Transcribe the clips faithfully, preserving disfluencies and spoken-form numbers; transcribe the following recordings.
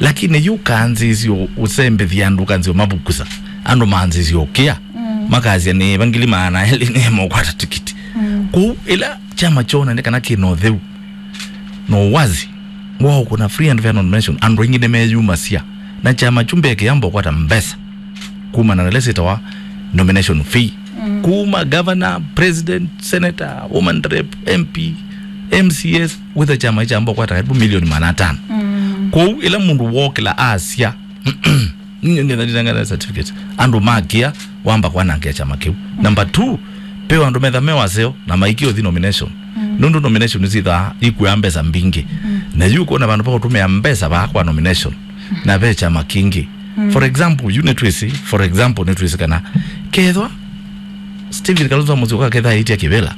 Lakini yu kanzĩsyo ũsembethya andũ, kanzĩsyo mavukusa andũ, manzĩsyo ũkĩa, makasya nĩ vangili maana elĩ nĩ mũkwata tikiti. Kũu ĩla kyama kyona nĩ kana kĩna ũtheu na ũwazi wa ũkũna free and fair nomination, andũ aingĩ nĩmeyumasya, na kyama kyu mbee kĩyamba ũkwata mbesa kumana na ĩla syĩtawa nomination fee. Kuma governor, president, senator, woman rep, M P, M C S, wĩtha kyama kyamba ũkwata karibu milioni maana atano. Kwoou ĩla mũndũ wokĩla asya, "Nĩnĩthanitangana certificate," andũ makĩa wamba kwanangĩa kyama kĩu. Number two, pewa andũ metha me waseo na maikĩa ũthi nomination. Nũndũ nomination nĩsyĩthaa ikuaa mbesa mbingĩ. Na yu kwona vandũ va kũtũmĩa mbesa vaa kwa nomination na ve kyama kĩngĩ. For example, yu nĩtwĩsĩ, for example, nĩtwĩsĩ kana kethwa Stephen Kalonzo Musyoka ketha aĩtya kĩvĩla,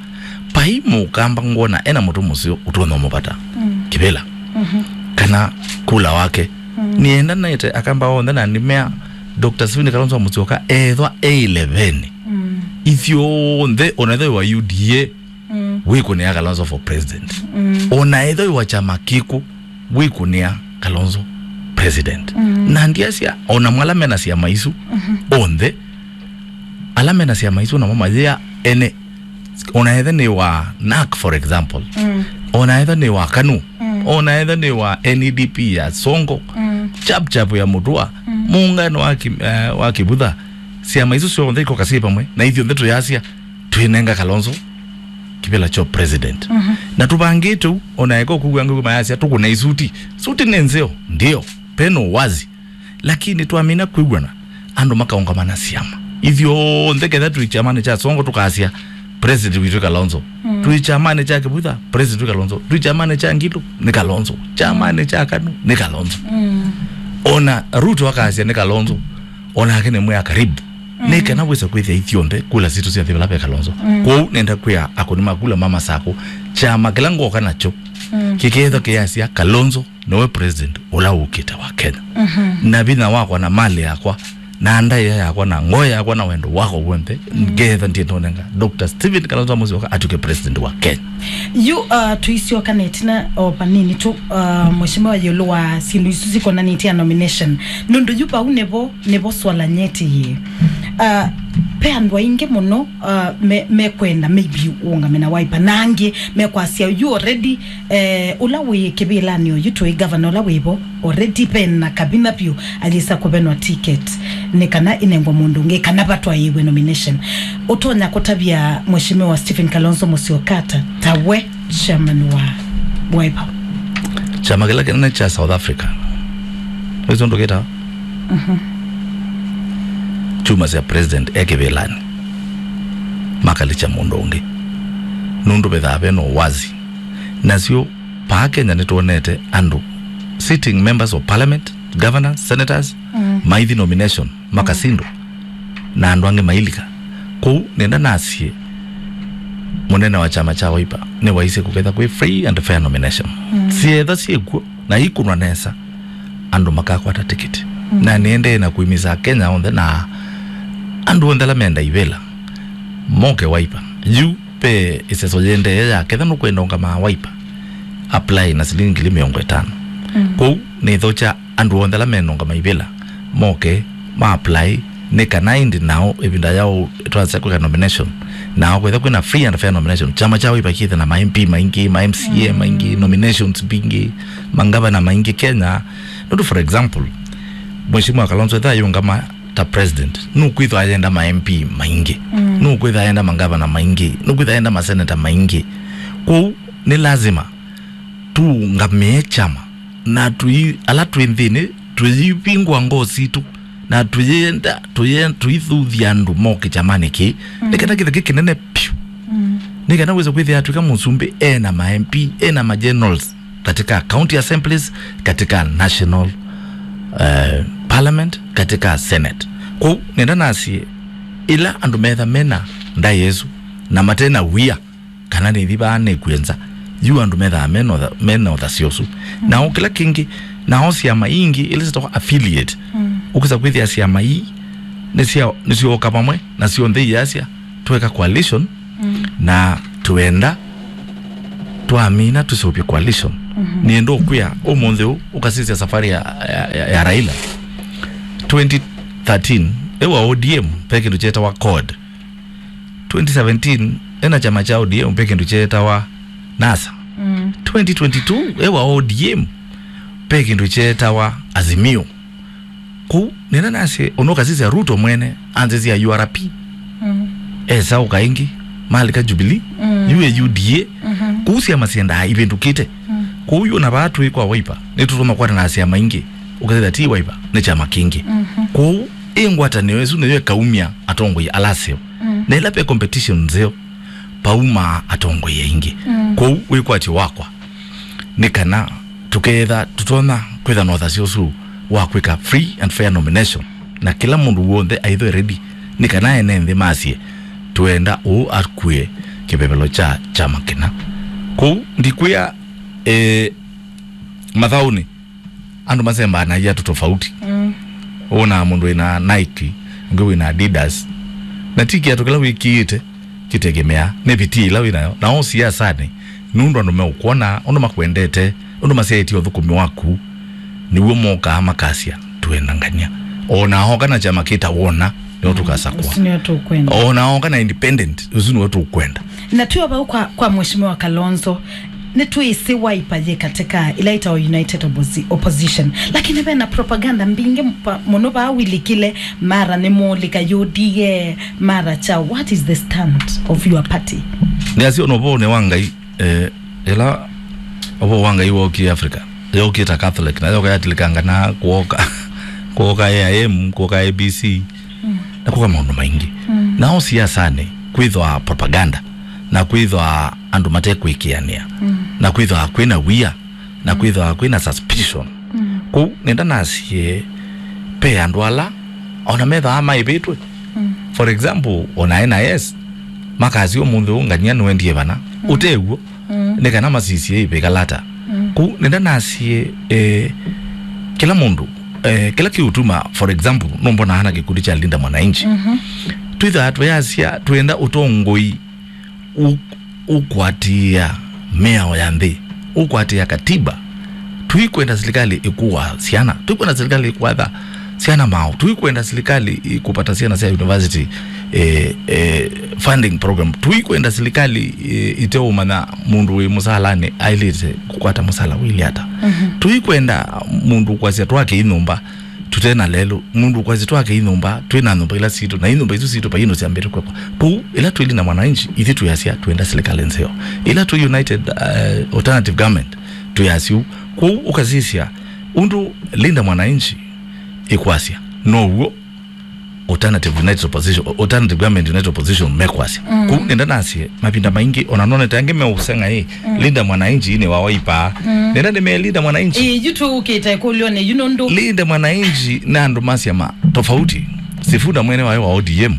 vai mũkamba ngwona ena mũtwe mũseo ũtonya ũmũvata kĩvĩla kana kula wake. Nĩenda naĩte akamba onthe na nĩmea Doctor Stephen Kalonzo Musyoka ethwa e ileveni, ithyonthe, ona ethwa wa U D A, wĩkũnĩa Kalonzo for president. Ona ethwa wa kyama kĩkũ, wĩkũnĩa Kalonzo president. Na ndiasya ona mwala mena syama isu onthe, ala mena syama isu namo mayĩa ene, ona etha nĩ wa NARC, for example, ona etha nĩ wa KANU, ona etha nĩ wa N E D P ya Sonko, Chap Chap ya Mutua, muungano wa Ki-, eh, wa Kivutha, syama isu syonthe ikoka syĩ vamwe na ithyonthe tuyasya twĩnenga Kalonzo kĩvĩla kyo president. Na tũvangĩte ũu, ona eka ũkwĩw'a ngĩw'ĩ mayasya tũkũna isuti. Suti nĩ nzeo, ndio, pena uwazi. Lakini twamina kwĩw'ana, andũ makaũngama na syama. Ithyonthe ketha twĩ kyamanĩ kya Sonko tũkasya, "President witũ Kalonzo." Twĩ kyamanĩ kya Kivutha, "President witũ Kalonzo." Twĩ kyamanĩ kya Ngilu, nĩ Kalonzo. Kyamanĩ kya KANU, nĩ Kalonzo. Ona Ruto akasya nĩ Kalonzo, onake nĩ mwĩa karibu. Nĩ kana wĩse kwĩthĩa ithyonthe kula sitũ syathi vala ve Kalonzo. Kwoou nenda kwĩa akũni ma kula ma Masakũ, kyama kĩla ngoka nakyo kĩkethwa kĩyasya Kalonzo nowe president ũla ũkĩte wa Kenya. Na vinya wakwa na mali yakwa na ndaĩa yakwa na ngoo yakwa na wendo wakwa w'onthe, ngetha ndiendonenga Doctor Stephen Kalonzo Musyoka atuke president wa Kenya. Yu, uh, tuisyoka netina o vanini tu, uh, mheshimiwa, yulu wa sindu isu sikonanĩtye na nomination. Nundu yu vau nivo, nivo swala nyeti yĩ. Uh, pe andũ aingĩ mũno, uh, me, mekwenda maybe ũũngame na Wiper. Na angĩ mekwasya yu already, eh, ũla wĩ kĩvĩlanĩ oyu tũĩ governor ũla wĩvo already pena kavinya vyũ ayĩsa kũvenwa ticket nĩ kana ĩnengwe mũndũ ũngĩ kana vatwaĩĩw'e nomination. Ũtonya kũtavya Mheshimiwa Stephen Kalonzo Musyoka ata ta we chairman wa Wiper? Kyama kĩla kĩnene kya South Africa, wĩsĩ ũndũ kĩtawa? Kyuma sya president e kĩvĩlanĩ, makalikya mũndũ ũngĩ, nũndũ vethaa vena ũwazi. Nasyo vaa Kenya nĩtwonete andũ, sitting members of parliament, governors, senators, maithi nomination, makasindwa, na andũ angĩ mailika. Kwoou nenda nasye mũnene wa kyama kya Wiper nĩwaisye kũketha kwĩ free and fair nomination. Syetha syĩkw'o na ikunwa nesa, andũ makakwata tikiti. Na nĩendee na kũimisa Akenya onthe na andũ onthe ala menda ivĩla moke Wiper. Yu ve ĩseso yĩendee ya ketha nũkwenda ũngama Wiper, apply na silingi ngili mĩongo ĩtano. Kwoou nĩthokya andũ onthe ala menonga maivĩla moke ma apply, nĩ kana ĩndĩ nao ĩvinda yao twasya kwĩka nomination, nao kwĩtha kwĩna free and fair nomination, kyama kya Wiper kĩthe na ma M P maingĩ, ma M C A maingĩ, nominations mbingĩ, mangavana maingĩ Kenya. Nũndũ, for example, Mheshimiwa Kalonzo ethwa ayũngama ta president, nũkwĩthwa ayenda ma M P maingĩ, nũkwĩthwa ayenda mangavana maingĩ, nũkwĩthwa ayenda maseneta maingĩ. Kwoou nĩ lazima tũũngamĩe kyama na tũi-, ala twĩ nthĩnĩ tũyĩvingũa ngoo sitũ na tũyĩenda, tũyĩ-, tũithuthya andũ moke kyamanĩ kĩĩ. Nĩ kana kĩthe kĩ kĩnene piũ. Nĩ kana wĩse kwĩthĩa atw'ĩka mũsumbĩ ena ma M P, ena ma generals katika county assemblies, katika national, eh, parliament, katika senate. Kwoou nenda nasye ĩla andũ metha mena ndaĩa ĩsu na matena wia, kana nĩthi vaa nĩkw'e nza, yu andũ methaa mena ũtha-, mena ũthasyo ũsu. Nao kĩla kĩngĩ, nao syama ingĩ ila syĩtawa affiliate, ũkĩsa kwĩthĩa syama ii nĩsya-, nĩsyooka vamwe na syonthe iyasya tweka coalition, na twenda twamina tũseũvye coalition. Nĩenda ũkwĩa ũmũnthĩ ũũ, ũkasisya safari ya, ya, ya, ya Raila. Twenty thirteen, e wa O D M, ve kĩndũ kyetawa CORD. Twenty seventeen, ena kyama kya O D M, ve kĩndũ kyetawa NASA. Twenty twenty-two, e wa O D M, ve kĩndũ kyetawa Azimio. Kũu nĩna nasye, ũnũkasisya Ruto mwene, anzĩsya U R P. Esa ũka ĩngĩ, malika Jubilee, yu e U D A. Kũu syama syendaa ivĩndũkĩte. Kũu yu na vaa twĩ kwa Wiper, nĩtũtũma kwatana na syama ingĩ, ũkethĩa ti Wiper, nĩ kyama kĩngĩ. Kũu ĩ ngwatanĩo ĩsu nĩyo ĩkaumya atongoi ala aseo. Na ĩla ve competition nzeo, paumaa atongoi aingĩ. Kwoou wĩkwatyo wakwa nĩ kana tũkeetha tũtonya kwĩtha na ũthasyo ũsu wa kwĩka free and fair nomination, na kĩla mũndũ w'onthe aithwe ready, nĩ kana ene nthĩ masye, "Twenda ũũ akue kĩvevelo kya kyama kĩna." Kwoou ndikwĩa, eh, mathaũnĩ andũ masembanagia tũtofauti. Wonaa mũndũ wĩna Nike, ũngĩ wĩna Adidas. Na ti kĩatũ kĩla wĩkĩĩte kĩtegemea nĩ vitia ĩla wĩnayo. Na o siasanĩ, nũndũ andũ meũkwona, ũndũ makwendete, ũndũ masyaĩtye ũthũkũmi waku, nĩw'o mokaa makasya, "Twenda ngania." O na oka na kyama kĩta wona, nĩo tũkasakwa. Ũsu nĩo tũkwenda. O na oka na independent, ũsu nĩwe tũkwenda. Na twĩ o vau kwa, kwa Mheshimiwa Kalonzo, nĩtwĩsĩ Wiper yĩ katika ila ĩtawa United Opposi-, Opposition. Lakini vena propaganda mbingĩ mpa-, mũno vaa wilikile, mara nĩmũlika U D A, mara cha. What is the stand of your party? Nĩasyo no vone wa Ngai, eh, ĩla ũvoo wa Ngai wookie Africa, yookie ta Catholic, na yoka yatilikanga na kuoka, kuoka A I M, kuoka A B C, na kuoka maũndũ maingĩ. Na o siasanĩ, kwĩthwa propaganda, na kwĩthwa andũ matekwĩkĩanĩa, na kwĩthwa kwĩna wia, na kwĩthwa kwĩna suspicion. Kũu nenda nasie, pe andũ ala, ona methaa maĩvĩtwe. For example, ona N I S, makasya ũmũnthĩ ũũ ngania nĩwendie vana. Ũtew'o, nĩ kana masisye ĩvĩkalata. Kũu nenda nasie, eh, kĩla mũndũ, eh, kĩla kĩũtuma, for example, nũmbonaa na kĩkundi kya Linda Mwananchi. Twĩthaa twĩasya twenda ũtongoi ũ-, ũkwatĩĩa mĩao ya nthĩ, ũkwatĩĩa katiba. Tũikwenda silikalĩ ĩkũa syana, tũikwenda silikalĩ ĩkwatha syana mao, tũikwenda silikalĩ ĩkũpata syana sya university, eh, eh, funding program, tũikwenda silikalĩ, eh, ĩteũmanya mũndũ wĩ mũsalanĩ aĩlĩte kũkwata mũsala wĩlĩ ata. Tũikwenda mũndũ kwasya twake inyũmba tũte na lelũ, mũndũ ũkwasya twake inyũmba, twĩ na nyũmba ila sitũ, na inyũmba isu sitũ vai ĩndũ syambĩte kwekwa. Kũu, ĩla twĩ Linda Mwananchi, ithyĩ twĩasya twenda silikalĩ nzeo. Ĩla twĩ United, eh, Alternative Government, twĩasya ũu. Kwoou ũkasisya, ũndũ Linda Mwananchi ĩkwasya, now'o Alternative United Opposition, Alternative Government United Opposition mekwasya. Kũu nenda nasye, mavinda maingĩ, ona nonete angĩ meũseng'a ĩ, Linda Mwananchi nĩ wa Wiper. Nenda nĩmee Linda Mwananchi. Ĩĩ, yu tũũkĩte ĩkũlyo nĩ yu nũndũ Linda Mwananchi na andũ ma syama tofauti. Sifuna mwene wayo wa O D M.